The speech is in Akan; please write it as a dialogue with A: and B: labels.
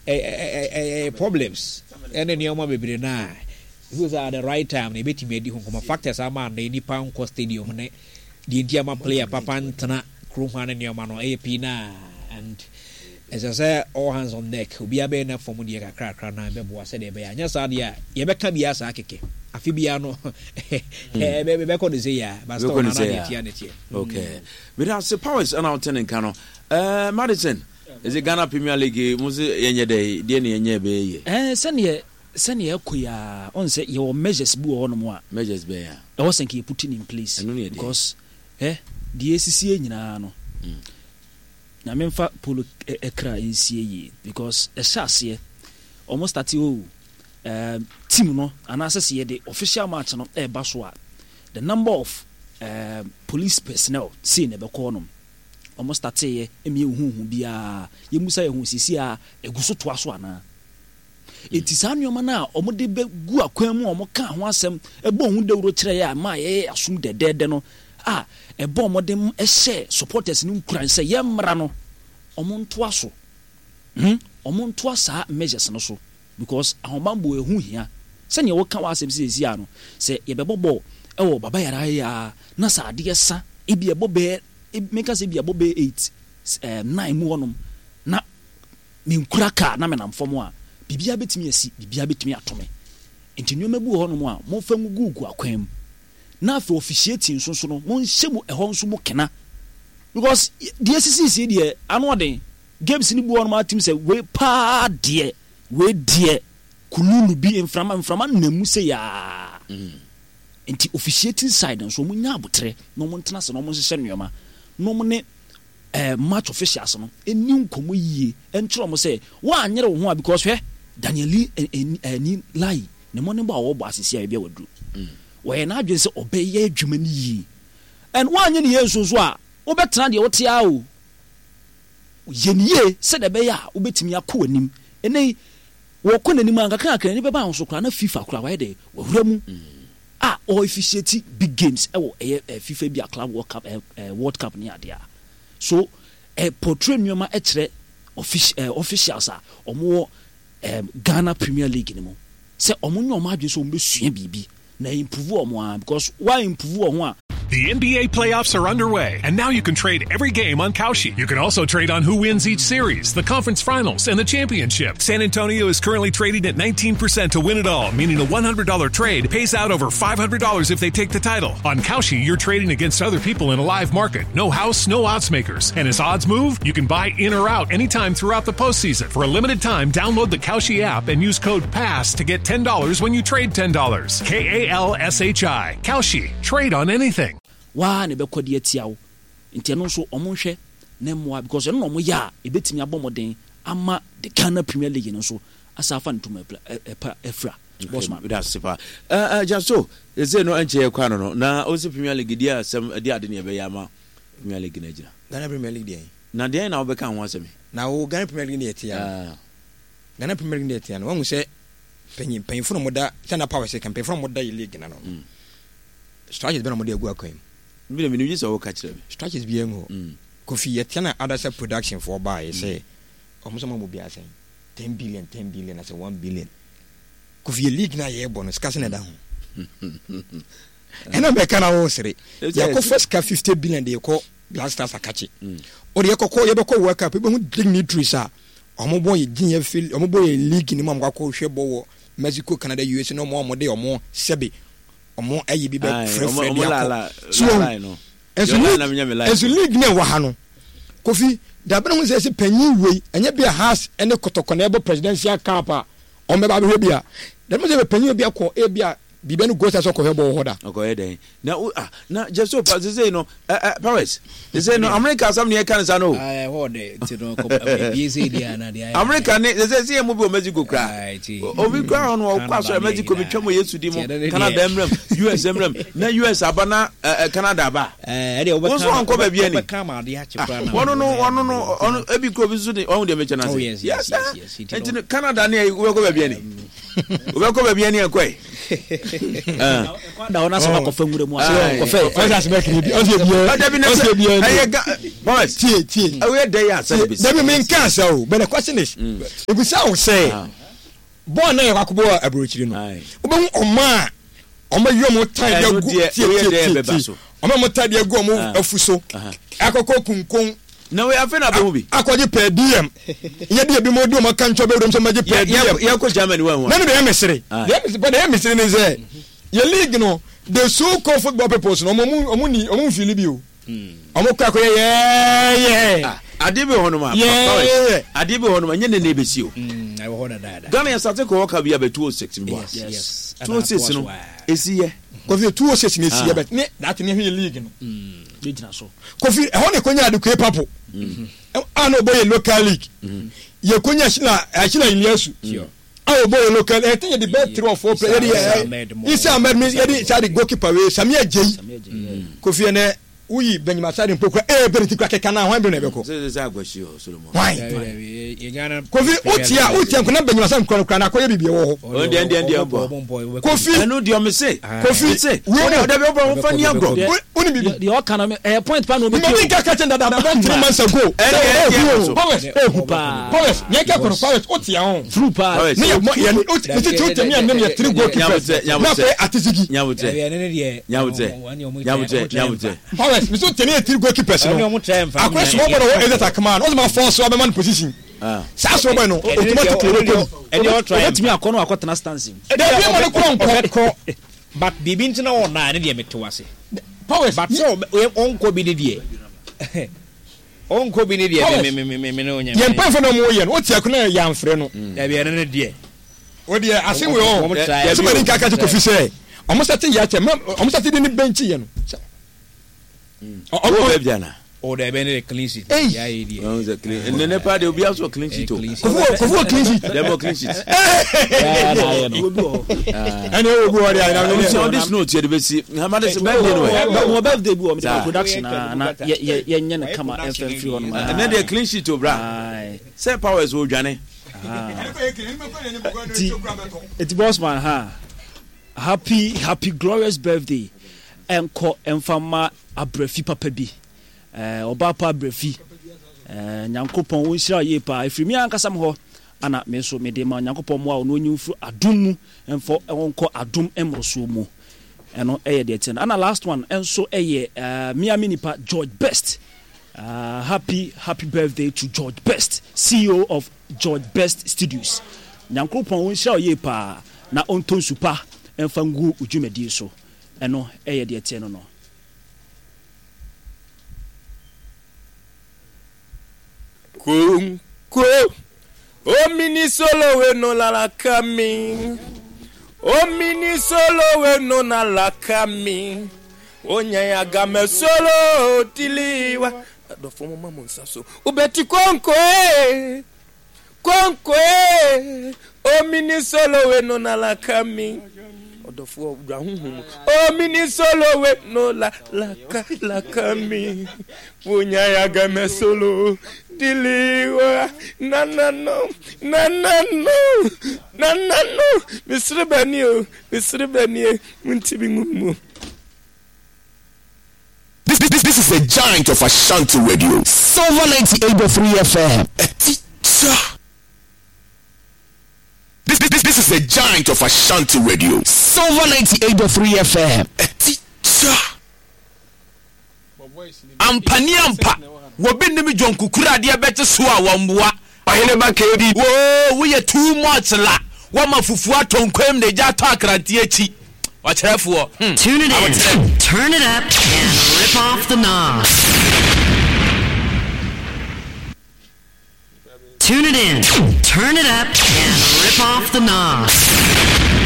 A: Ɛyɛ problems ɛne nneɛma bebree no a ɛfiri sɛ at the right time no yɛbɛtumi adi ho nkɔmmɔ. Factors ama nnɛ nnipa nkɔ stadium ne deɛ nti ama player papa ntena kurom ha ne nneɛma no ɛyɛ pii no a and ɛsɛ sɛ all hands on deck obiara bɛyɛ na fam deɛ kakrakra na ɛbɛboa sɛdeɛ ɛbɛyɛ anyɛ saa deɛ a yɛbɛka biara saa kɛkɛ afe biara no ɛbɛkɔ ne sɛ yɛ a but still na na deɛ tia ne teɛ.
B: Okay. Meda ase powers ɛna wote ne nka no. Eh, Madison. Ɛsɛ Ghana Premier League mo se yɛnyɛ dɛ deɛ ne yɛnyɛ ɛbɛyɛ yie.
C: Ɛɛ sɛdeɛ sɛdeɛ ɛkɔ yi ara ɔn sɛ yɛwɔ measures bi wɔ hɔnom a.
B: Measures bɛn a?
C: Ɛwɔ sɛ nka yɛ put in place.
B: Ɛno ne yɛ deɛ.
C: Because ɛ deɛ esisie nyinaa no. Nyame nfa polo kra nsie yie because ɛhyɛ aseɛ wɔn starte oh ɛɛ team no anaasɛ sɛ yɛde official match no ɛɛba so a the number of ɛɛ police personnel sei na ɛbɛkɔ hɔnom. Ɔmo starteeɛ ɛma yɛnhuu hu biaa, yɛmmusa yɛn ho seesei a ɛgu so toa so anaa? Enti saa nnoɔma no a ɔmo de bɛ gu akwan mu a ɔmo kaa ho asɛm bɔɔ ho dawuro kyerɛɛ yɛ a ɛmaa yɛyɛ asom dɛdɛɛdɛ no a ɛbɔɔ mmɔden hyɛɛ supporters no nkuran sɛ yɛmmra no ɔmo ntoa so hmm ɔmo ntoa saa measures no so. Because ahobanbɔ ɛho hia. Sɛdeɛ woka w'asɛm seesei ara no, sɛ yɛbɛbɔ bɔɔl wɔ Baba Yara ha yi ara na sɛ adeɛ sa, ebia ɛbɔ bɛyɛ, menka sɛ ebia ɛbɔ bɛyɛ eight, nine mu hɔnom na menkura kaa na menam fam a, biribiara bɛtumi asi, biribiara bɛtumi ato me. Nti nneɛma bi wɔ hɔnom a momfa ngugugu akwan mu. Na afei officiating nso so no, monhyɛ mu ɛhɔ nso mu kena. Because deɛ ɛsisiisie deɛ, ano ɔden. Games no bi wɔ hɔnom a wotim sɛ wei paa deɛ, wei deɛ kululu bi mframa mframa nam mu sei aa. Nti officiating side nso wɔn nya aboterɛ na wɔn ntena ase na wɔn nhyehyɛ nneɛma na wɔn ne eh, match officials no ɛni nkɔmmɔ yie nkyerɛ wɔn sɛ wɔanyere wo ho a because hwɛ Daniel Lee eh, eh, eh, ni Lai ne mmɔdenbɔ a wɔbɔ asesi a ebi a waduru. Wɔyɛ n'adwene sɛ ɔbɛyɛ adwuma no yie and wɔanyɛ ne yie nso nso a wobɛtena deɛ wote ara o. Yɛ no yie sɛdeɛ ɛbɛyɛ a wobɛtumi akɔ w'anim. Ɛnnɛ yi, wɔkɔ n'anim ara nkakrankakra, n'ani bɛba ahosuo koraa na FIFA koraa wayɛ dɛ, wawura mu a ɔɔfisiati big games ɛwɔ ɛyɛ FIFA bi a Club World Cup, World Cup ne adeɛ a. So ɛ portray nneɛma kyerɛ officials a wɔwɔ Ghana Premier League no mu sɛ wɔnyɛ wɔn adwene sɛ wɔbɛsua biribi na improve wɔn ara because wa improve wɔn ho a.
D: The NBA playoffs are underway, and now you can trade every game on Kalshi. You can also trade on who wins each series, the conference finals, and the championship. San Antonio is currently trading at 19% to win it all, meaning a $100 trade pays out over $500 if they take the title. On Kalshi, you're trading against other people in a live market. No house, no odds makers. And as odds move, you can buy in or out anytime throughout the postseason. For a limited time, download the Kalshi app and use code PASS to get $10 when you trade $10. K A L S H I. Kalshi. Trade on anything.
C: Waa na ɛbɛkɔ de atia wo nti ɛno nso ɔmo nhwɛ na mmoa because ɛno na ɔmo yɛ a ɛbɛtumi abɔ mmɔden ama the Ghana Premier League no nso asan afa ne ntoma ɛpa afira. Bossman.
B: Meda ase paa. Eh, eh, Jaso, ɛsɛ no ɛnkyɛ yɛ kɔ ano no, na ɔsɛ Premier League deɛ asɛm, ɛde ade ne ɛbɛyɛ ama Premier League no agyina.
E: Ghana Premier League deɛ.
B: Na deɛn na wobɛka ho asɛm yi?
E: Na wo Ghana Premier League deɛ ɛte ya no. Ah. Ghana Premier League deɛ ɛte ya no, wahu sɛ panyin mpanyinfo na wɔda sɛ na power sɛ ka mpanyinfo na wɔda yɛ league na no. Mm. Structures bɛ na wɔde agu akwan mu.
B: Bi na menim gye sɛ woka kyerɛ me.
E: Structures bi ngu hɔ. Mm. Kofi yɛte na Adasa production foɔ baa yɛ sɛ wɔn sɛ wɔn abɔ bi asɛn 10 billion 10 billion asɛ 1 billion. Kofi yɛ league na yɛrebɔ no sika sɛ na ɛda ho. Ɛna bɛka na wɔresere. Yɛakɔfa sika 50 billion de kɔ Black Stars akakye. Ɔde yɛkɔkɔ yɛbɛkɔ World Cup yɛbɛhu dignitaries a wɔn bɔ yɛ gyin yɛ fil wɔn bɔ yɛ league ne mu a wɔn akɔ hwɛ bɔ wɔ Mexico, Canada, USA na wɔn a wɔde wɔn sɛbe wɔn ayi bi bɛ frɛfrɛ de akɔ. So ɛnso league ɛnso league na ɛwɔ ha no Kofi dabere ho sɛ ɛsɛ panyin wei ɛnyɛ bi a Hearts ɛne Kɔtɔkɔ na ɛbɔ presidential cup a wɔn bɛba abɛhwɛ bi a dabere ho sɛ panyin bi akɔ ebi a biribi no gosa sɛ ɔkɔhwɛ bɔ wɔ hɔ da.
B: Ɔkɔyɛ dɛn na o ah na jesu pa sese no ɛ ɛ powers sese no America asɛm ne yɛka ne sa no o.
A: Ɛhɔ de nti no ebie sɛ di ana de ayɛ.
B: America ne sese sɛ yɛn mu bi wɔ Mexico kura obi kura hɔ no ɔkɔ asɔrɔ Mexico bi twɛm wɔ Yesu di mu Canada mmerɛm US mmerɛm na US aba na ɛ Canada aba.
A: Ɛdeɛ
B: wɔn nso wɔnkɔ baabi ani.
A: Wɔbɛka ama adeɛ akye koraa na.
B: Wɔn no wɔn no ɔno ebi kura obi nso de ɔho deɛ mekyɛ n'ase.
A: Oh yes yes yes yes.
B: Nti no Canada ne wobɛkɔ baabi ani. Wobɛkɔ baabi ani ɛkɔɛ.
C: Da hɔ na sɛ wakɔfa nwura mu a kɔfɛ.
E: Ɔsɛ asɛmɛ kiri bi ɔsɛ ebi yɛ ɔsɛ ebi yɛ.
B: Ɛyɛ ga boys.
E: Tie tie.
B: Ɛyɛ dɛ yɛ asɛm bi.
E: Dabi mi nka asɛ o but the question is ebisa o sɛ bɔɔl náà yɛ kɔ akɔbɔ wɔ aburokyiri no wobɛhu ɔmo a ɔmo ayi ɔmo tan de agu tie tie tie tie ɔmo a ɔmo tan de agu ɔmo afu so akɔkɔ kunkun.
B: Na wei afei na abɛhu bi.
E: Akɔgye per diem. Yɛ de ebi mo de ɔmo aka nkyɛn bɛwura mu sɛ ɔmo agye per diem.
B: Yɛ kɔ Germany wɔn ho.
E: Na ne deɛ ɛyɛ mesere. Deɛ ɛyɛ mesere deɛ ɛyɛ mesere ne sɛ yɛ league no the so called football peoples no ɔmo ɔmo ni ɔmo nfili bi o. Ɔmo kɔ akɔyɛ yɛɛyɛ.
B: Ah, adeɛ bi wɔ hɔ nom a.
E: Yɛɛyɛ.
B: Adeɛ bi wɔ hɔ nom a nyɛ ne na ebesi o.
A: Ɛwɔ hɔ dadaada.
B: Ghana yɛ sate kɔ ɔka bi abɛ 206 mi bɔ.
A: Yes.
B: 206 no esi yɛ.
E: Kofi 206 na esi yɛ bɛ ne that ne hwɛ league no.
C: Gyina so.
E: Kofi ɛhɔ na ekonya Adekoe Papo a na ɔbɔ yɛ local league. Yɛkonya Shila Shila Iliasu a ɔbɔ yɛ local ɛte yɛ de bɛɛ three or four players yɛde yɛ Isa Ahmed mi yɛde saa de goalkeeper wei Samia Jei Kofi ɛnɛ woyi Benjamin Asare mpo kura ee bere ti kura keka na hwan bere na ɛbɛkɔ hwan Kofi wotia wotia nkona Benjamin Asare nkura no kura na akɔyɛ biribi ɛwɔ hɔ Kofi
B: ɛnu deɛ ɔmo se
E: Kofi
B: se
E: wo
B: ɔde ɔde bɛ ɔmo fa ni agorɔ
E: woni bibi
C: deɛ ɔka no ɛyɛ point pa na ɔbɛtie
E: o nka kakyɛ dada about 3 months ago
B: ɛne ɛne
E: powers
C: ehu paa
E: powers yɛn kɛ kɔnɔ powers o tia ho
C: true paa
E: ne yɛ mɔ yɛ o ti ti o tɛmi yɛ ne yɛ three goalkeepers na afei atizigi
B: nyamutrɛ nyamutrɛ nyamutrɛ nyamutrɛ
E: powers mi so tɛmi yɛ three goalkeepers no akɔyɛ small boy na wɔ ezet akama no ɔsɛ ma fɔ so abɛma no position saa small boy no automatically ɔbɛkɔ
A: bi
C: ɔbɛtumi akɔ no akɔtena stands mu
E: dabi ɛma no kura nkɔ
A: But biribi nti na ɔnna a, ɛno deɛ mete wo ase.
E: Powers,
A: But sɛ ɔnkɔ bi ne deɛ, ɔnkɔ bi ne deɛ, me me me me me ne onyɛ.
E: Yɛn mpanyinfo na wɔn yɛ no, wote akonnwa yɛ yɛamfrɛ no.
A: Dabi ɛno ne deɛ.
E: O deɛ ase wei ɔ, sɛ mani nka kati kofi sɛ, ɔmo sate yɛ akyɛ, ɔmo sate de ne bɛnkyi yɛ no.
B: Ɔwɔ baabi ana?
A: O dɛ bɛ ne de clean sheet.
E: Ei.
A: Ya ye deɛ.
B: Ɔn sɛ clean. Ɛnɛ ne pa de obi aso clean sheet o.
E: Kofi wɔ kofi wɔ clean sheet.
B: Dɛm wɔ clean sheet.
A: Ya na ayɛ no.
E: Ɛna ɛwɔ bi wɔ de ayɛ na.
B: Ɔsi ɔde snow tiɛ de bɛ si. Hamade sɛ birthday no ɛ.
C: Mo birthday bi wɔ mo de production na na yɛ yɛ yɛ nyɛ ne kama ɛnfɛn firi hɔ nom.
B: Ɛnɛ deɛ clean sheet o bra. Sɛ powers o dwane.
C: Ti eti boss man ha. Happy happy glorious birthday ɛnkɔ ɛnfa mma abrafi papa bi eh, ɔbaa pa abrafi eh, Nyankopɔn ɔnhyira wo yie paa ɛfiri me ankasa me hɔ ana me nso mede ma Nyankopɔn mmoa wo na ɔnyi wo mfiri adom mu ɛmfa ɔnkɔ adom mmorosoɔ mu ɛno ɛyɛ deɛ ɛteɛ no ana last one ɛnso ɛyɛ eh, me a me nipa George Best uh, happy happy birthday to George Best CEO of George Best Studios Nyankoropɔn ɔnhyira wo yie paa na ɔntɔ nsu pa mfa ngu wo dwumadie so. Ɛno yɛ deɛ ɛteɛ no no.
F: Konko Omini solo we no la la kami Omini solo we no na la kami Onya ya game solo diliwa Adofo mo ma mo nsa so Ubeti konko eh Konko eh Omini solo we no na la kami Ɔdɔfoɔ wura honhom mu Omini solo we no la la ka la kami Wonya ya game solo diliwa Nana no nana no nana no Mesere bani o mesere bani e Munti bi ngu mu.
G: This, this, this is the giant of Ashanti Radio. Silver 98.3 FM. A teacher. This, this, this is the giant of Ashanti Radio. Silver 98.3 FM. A teacher.
B: Ampa ni ampa, wɔbi nim John Kukuru adeɛ bɛgye so a wɔmmoa.
G: Ɔhene ba KB.
B: Woo woyɛ too much la wɔma fufuo atɔ nkwam na egya atɔ akranteɛ akyi ɔkyerɛfoɔ hmm
H: Tune it in,
B: aboterɛ.
H: turn it up, and rip off the knob. Tune it in, turn it up, and rip off the knob.